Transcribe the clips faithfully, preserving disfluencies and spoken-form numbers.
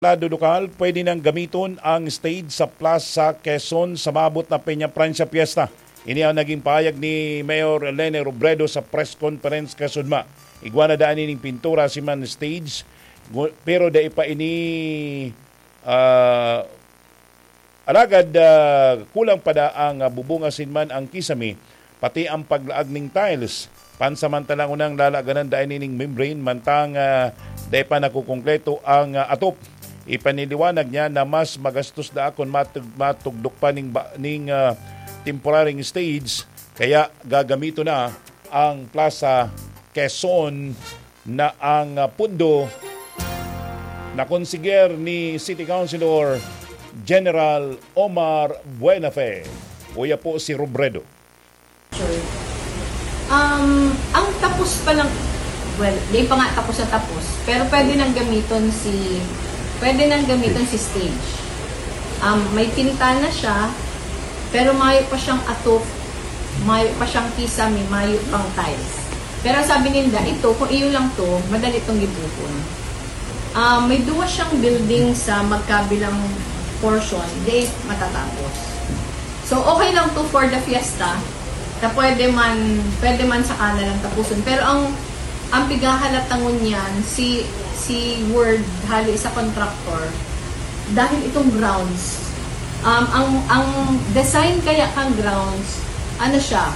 Lado lokal, pwede nang gamiton ang stage sa Plaza Quezon sa maabot na Peña Francia Fiesta. Ini ang naging pahayag ni Mayor Lene Robredo sa press conference kasudma. Igwa na daan ining pintura si man stage, gu- pero dai pa ini, ah, alagad, ah, kulang pa da ang, ah, bubungasin man ang kisame, pati ang paglaag ning tiles. Pansamantala ngunang lalaganan dai nining membrane, mantang, ah, dai pa nakukungkleto ang, ah, atop. Ipaniliwanag niya na mas magastos da kun matug-, matugdok pa ning ba-, ning, ah, temporary stage, kaya gagamiton na ang Plaza Quezon na ang, ah, pundo na konsiger ni City Councilor General Omar Buenafe. Uya po si Robredo. Um, ang tapos pa lang, well, di pa nga tapos na tapos, pero pwede nang gamiton si, pwede nang gamiton si stage. Um, may pintana siya, pero mayo pa siyang atop, mayo pa siyang kisame, mayo pang tiles. Pero sabi ninda, ito, kung iyo lang to, madali tong gibuhon. Ah, may duwa siyang building sa magkabilang portion, di matatapos. So, okay lang to for the fiesta, na pwede man, pwede man sa kanalang tapuson. Pero ang, ang pighahalata ngunyan, si, si word hali sa contractor, dahil itong grounds, um, ang, ang design kaya kang grounds, ano siya,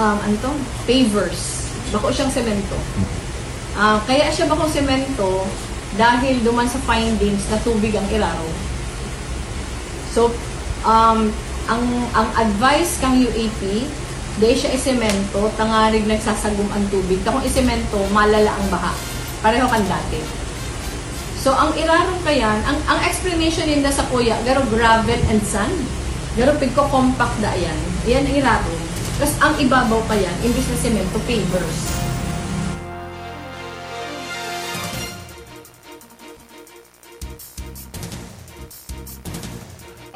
um, ano to? Pavers. Bako siyang semento. Ah, kaya siya bako semento dahil duman sa findings na tubig ang irarom. So, um, ang ang advice kang U A P, dai siya isemento, tangarig nagsasagom ang tubig. Ta kung isemento, malala ang baha. Pareho kan dati. So, ang irarom kayan, ang, ang explanation ninda sa kuya, garo gravel and sand. Garo pigko-compact da yan. Yan ang irarom. Tapos ang ibabaw pa yan, imbis na semento, pavers.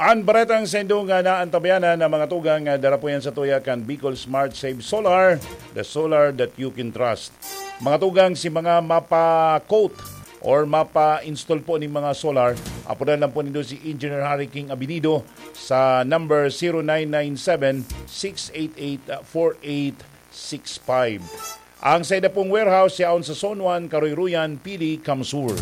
An baretang saindo nga naantabayanan na mga tugang nga dara po yan sa tuya kan Bicol Smart Save Solar, the solar that you can trust. Mga tugang, si mga mapa-quote or mapa-install po ning mga solar, apodan lang po nindo si Engineer Harry King Abinido sa number zero nine nine seven, six eight eight, four eight six five. Ang saida pong warehouse yaon sa Zone one, Karoyroyan, Pili, Kamsur.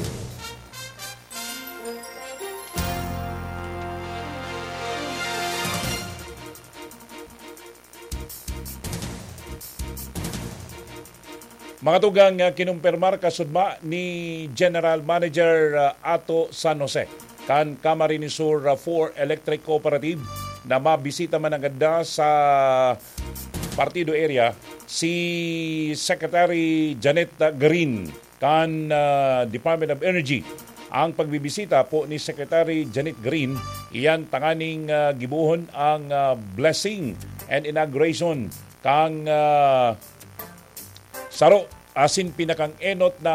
Mga tugang, ah, kinumpirmar kasudma ni General Manager, ah, Ato San Jose kan Camarines Sur, ah, four Electric Cooperative na mabisita man nanggad sa Partido area si Secretary Janet, ah, Green kan, ah, Department of Energy. Ang pagbibisita po ni Secretary Janet Green, iyan tanganing, ah, gibohon ang, ah, blessing and inauguration kang, ah, saro asin pinakang-enot na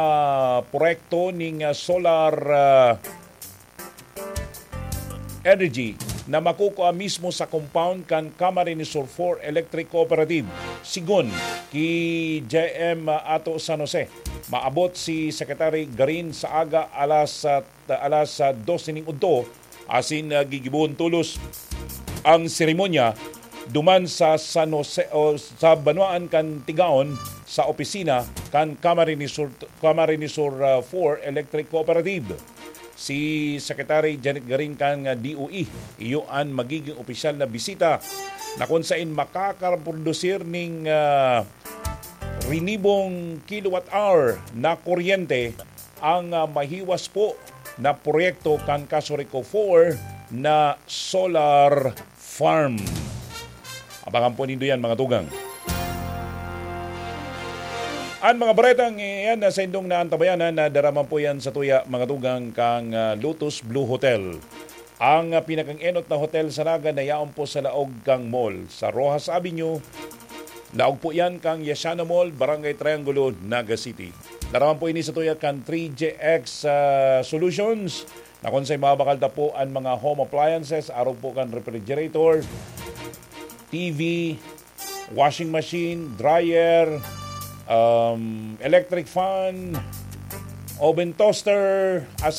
proyekto ning, ah, solar, ah, energy na makukua mismo sa compound kan Camarines Sur four Electric Cooperative. Sigon ki J M Ato San Jose, maabot si Secretary Garin sa aga alas, ah, alas, ah, dose ning udto, asin, ah, gigibohon tolos ang seremonya duman sa San Jose o sa banwaan kan Tigaon sa opisina kan Camarines Sur, Camarines Sur, ah, four Electric Cooperative. Si Secretary Janet Garin kan, ah, D O E, iyo an magiging opisyal na bisita na kun sain makakaprodusir ning, ah, rinibong kilowatt hour na kuryente ang, ah, mahiwas po na proyekto kan Casureco four na solar farm. Abangan po nindo yan, mga tugang. An mga baretang iyan na saindong naantabayanan, na dara man po yan sa tuya, mga tugang, kang, ah, Lotus Blue Hotel. Ang, ah, pinakang-enot na hotel sa Naga na yaon po sa laog kang mall, sa Roxas Avenue. Laog po yan kang Yasiano Mall, Barangay Triangulo, Naga City. Dara man po ini sa tuya kan three J X, ah, Solutions. Na kun sa mabakal ta po an mga home appliances, arog po kan refrigerator, T V, washing machine, dryer, um, electric fan, oven toaster, as